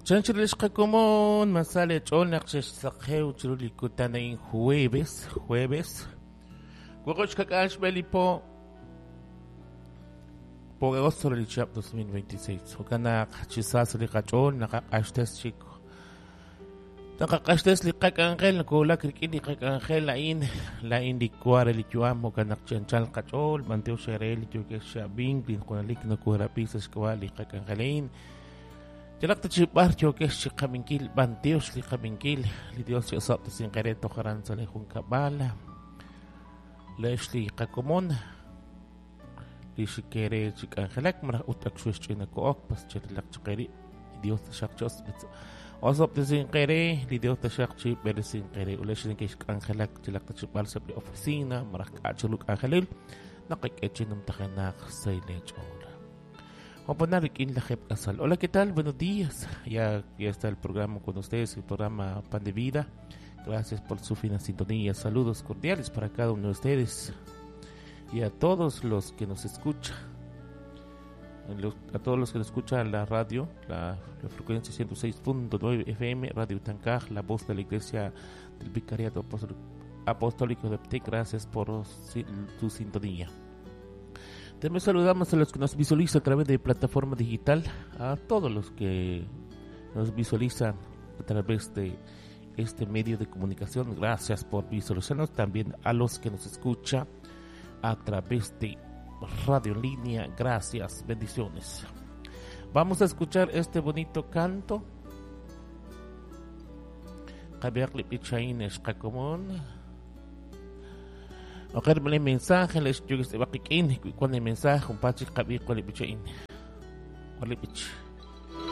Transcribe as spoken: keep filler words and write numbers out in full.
Chanchil xqakomon masale ch'ol naq xexsaqew chiru li kutan a'in jueves, jueves. Wuqub' xkak'al xb'e li po po agosto li chihab' dos mil veintiséis. Jo'kan naq chi sa sa' li qach'ool naqaq'axtes chik. Naqaq'axtes li qak'anjel nakowulak rik'in li qak'anjel a'in, la'in li wa re li yu'am, jo'kan naq chi anchal qach'ool, b'antiox re li yookeb' xab'ink, li junelik nokoorab'i sa' xk'ab'a' li qak'anjel a'in. Yalaq ta chi b'ar yookex chi qab'inkil, b'antiox li qab'inkil, li Dios chi'osob'tesinq re toj aran sa' li junkab'al, le'x li qakomon, li xikere chi k'anjelak, malaj ut ak xuexch'inako'ok, pas chirilaq chaq rib', li Dios taxaq chi osob'tesinq re, li Dios taxaq chi b'eresinq re, ulex neke'xk'anjelak chilaq ta chi b'ar sa' li oficina, malaj k'a' chiru k'anjelil, naqak'e chi numtajenaq sa' li ch'ool. Hola, ¿qué tal? Buenos días. Ya, ya está el programa con ustedes, el programa Pan de Vida. Gracias por su fina sintonía. Saludos cordiales para cada uno de ustedes y a todos los que nos escuchan. A todos los que nos escuchan la radio, la, la frecuencia ciento seis punto nueve F M, Radio Tancaj, la voz de la Iglesia del Vicariato Apostólico de Pte. Gracias por tu sintonía. También saludamos a los que nos visualizan a través de plataforma digital, a todos los que nos visualizan a través de este medio de comunicación. Gracias por visualizarnos. También a los que nos escuchan a través de radio en línea. Gracias, bendiciones. Vamos a escuchar este bonito canto. Ojer el mensaje, les yo que se va a quiquín, cuando el mensaje, un pachi, cabi, cuál es bichaín, cuál es bich.